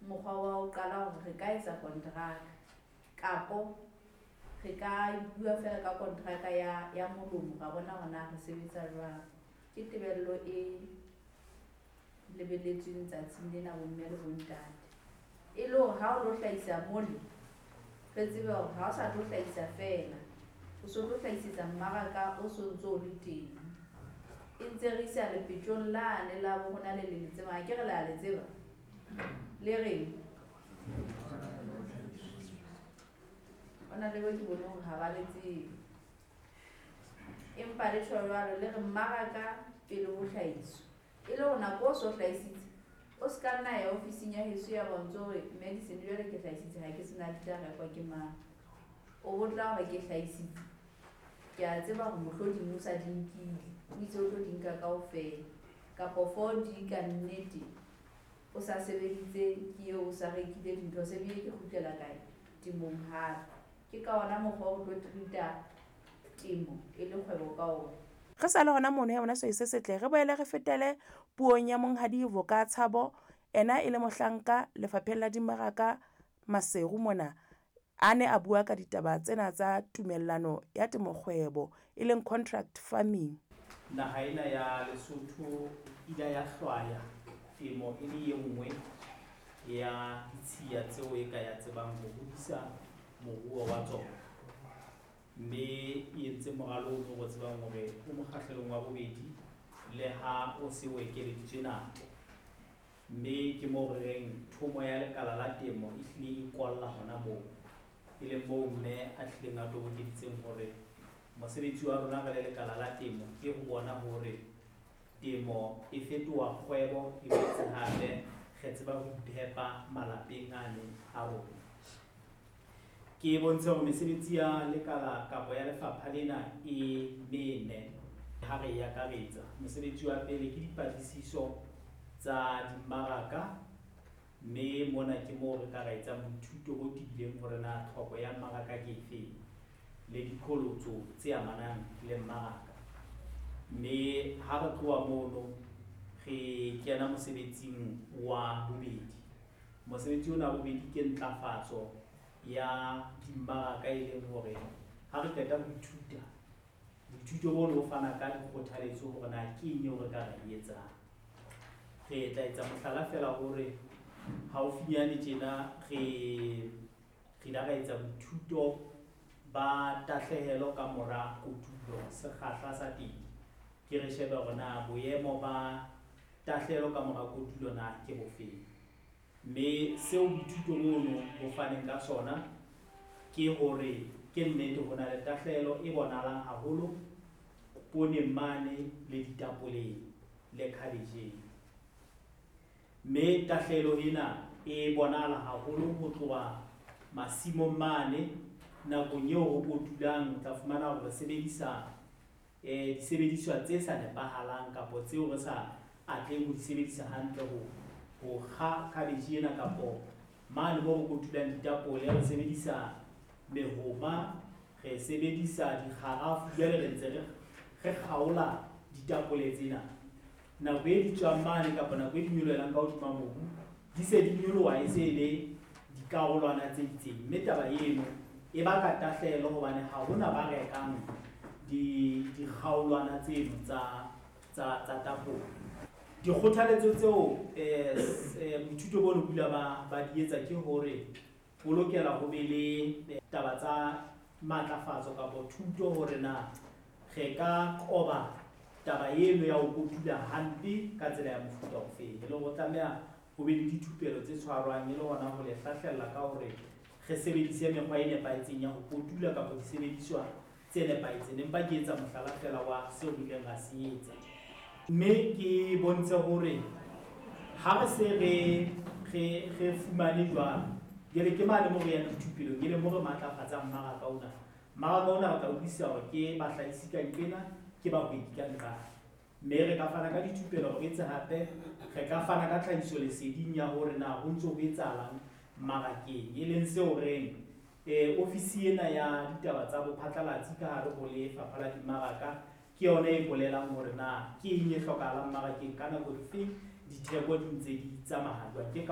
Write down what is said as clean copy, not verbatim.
Mokgwa wa ho qala hore re ka etsa kontraka kapo re ka bua feela ka kontraka ya molomo, ra bona hore na re sebetsa jwang. Ke tebello e lebelletsweng tsatsing lena bomme le bontate. E le hore ha o lo hlahisa mole, re tsebe hore ha o sa tlo hlahisa feela, o so tlo hlahisetsa mmaraka o so ntso o le teng. E ntse re isa lepetjong lane la bo rona le le le tsebang, akere le a le tseba? Le reng? Hona le bo ke bone hore ha ba le tsebe. Empa le tjho jwalo, le re mmaraka pele ho hlahiswa. E le hore nako o so hlahisitse, o se ka nna ya ofising ya heso ya bontsha hore medicine jwale ke hlahisitse, ha ke sena di tla rekwa ke mang. O bo tla hore ke hlahisitse. Ke a tseba hore mohloding o sa di nkile, o itse o tlo di nka kaofela. Kapo 4 di ka nnete, o sa sebeditse ke eo o sa rekile dintho, se bile ke kgutlela kae? Temong hape. Ke ka ona mokgwa o tlo treat-a temo e le kgwebo ka ona. Re sa le hona mono ya bona sehwai se setle, re boele re fetele puong ya Monghadi Voka Tshabo, ena e le mohlanka lefapheng la dimmaraka Maseru mona. A ne a bua ka ditaba tsena tsa tumellano ya temokgwebo e leng contract farming. Naha ena ya Lesotho ile ya hlwaya temo e le e nngwe ya ditshiya tseo e ka ya tsebang ho hodisa moruo wa tsona. Mme e entse moralo o re tsebang hore o mokgahlelong wa bobedi le ha o se o ekeleditswe nako. Mme ke moo re reng thomo ya lekala la temo e hlile e kwalla hona moo. E leng moo mme a hlileng a tobokeditseng hore mosebetsi wa rona re le lekala la temo ke ho bona hore temo e fetoha kgwebo, e boetse hape re tseba ho iphepa malapeng ane a rona. Ke bontshe hore mesebetsi ya lekala kapa ya lefapha lena e mene ha re e akaretsa. Mosebetsi wa pele ke dipatlisiso tsa dimmaraka, mme mona ke moo re ka ra etsang boithuto bo tebileng hore na tlhoko ya mmaraka ke efeng le diqholotso tse amanang le mmaraka. Mme ha re tloha mono re kena mosebetsing wa bobedi. Mosebetsi ona wa bobedi ke ntlafatso ya dimmaraka, e leng hore ha re qeta ho ithuta, boithuto bono bo fana ka dikgothaletso hore na ke eng eo re ka re e etsang. Re tla etsa mohlala feela hore haufinyane tjena re ile ra etsa boithuto ba tahlehelo ka mora kotulo, sekgahla sa teng. Ke re shebe hore na boemo ba tahlehelo ka mora kotulo na ke bofeng. Mme seo boithuto bono bo faneng ka sona ke hore ke nnete ho na le tahlehelo e bonahalang haholo pooneng mane le ditapoleng le khabetjheng. Mme tahlehelo ena e bonahala haholo ho tloha masimong mane nakong eo ho kotulang, o tla fumana hore re sebedisa disebediswa tse sa nepahalang kapo tseo re sa atleheng ho di sebedisa hantle ho kga khabetjhe ena kapo mane moo re kotulang ditapole re sebedisa mehoma, re sebedisa dikgarafu, jwale re ntse re kgaola ditapole tsena. Nako e di tswang mane kapa nako e di nyolohelang ka hodima mobu, di se di nyoloha e se e le dikarolwana tse itseng. Mme taba eno e baka tahlehelo hobane ha hona ba rekang dikgaolwana tseno tsa tapole. Dikgothaletso tseo boithuto bono bo ile ba di etsa ke hore ho lokela ho be le taba tsa matlafatso kapa thuto hore na re ka qoba taba eno ya ho kotula hampe ka tsela ya mofuta ofeng. E le hore tlameha ho be le dithupelo tse tshwarwang e le hona ho le hlahlella ka hore re sebedise mekgwa e nepahetseng ya ho kotula kapa disebediswa tse nepahetseng. Empa ke etsa mohlala feela wa seo re ileng ra se etsa. Mme ke bontshe hore ha re se re fumane jwalo, jwale ke mane moo re yang dithupelong, e leng moo re matlafatsang mmaraka ona. Mmaraka ona re tla utlwisisa hore ke bahlahisi ka nqena, ke bahwebi ka nqane. Mme re ka fana ka dithupelo hore etse hape re ka fana ka tlhahiso leseding ya hore na ho ntso ho etsahalang mmarakeng, e leng seo reng ofisi ena ya ditaba tsa bophatlalatsi ka hare ho lefapha la dimmaraka ke yona e bolelang hore na ke eng e hlokahalang mmarakeng ka nako dife, ditheko di ntse di tsamaya jwang. Ke ka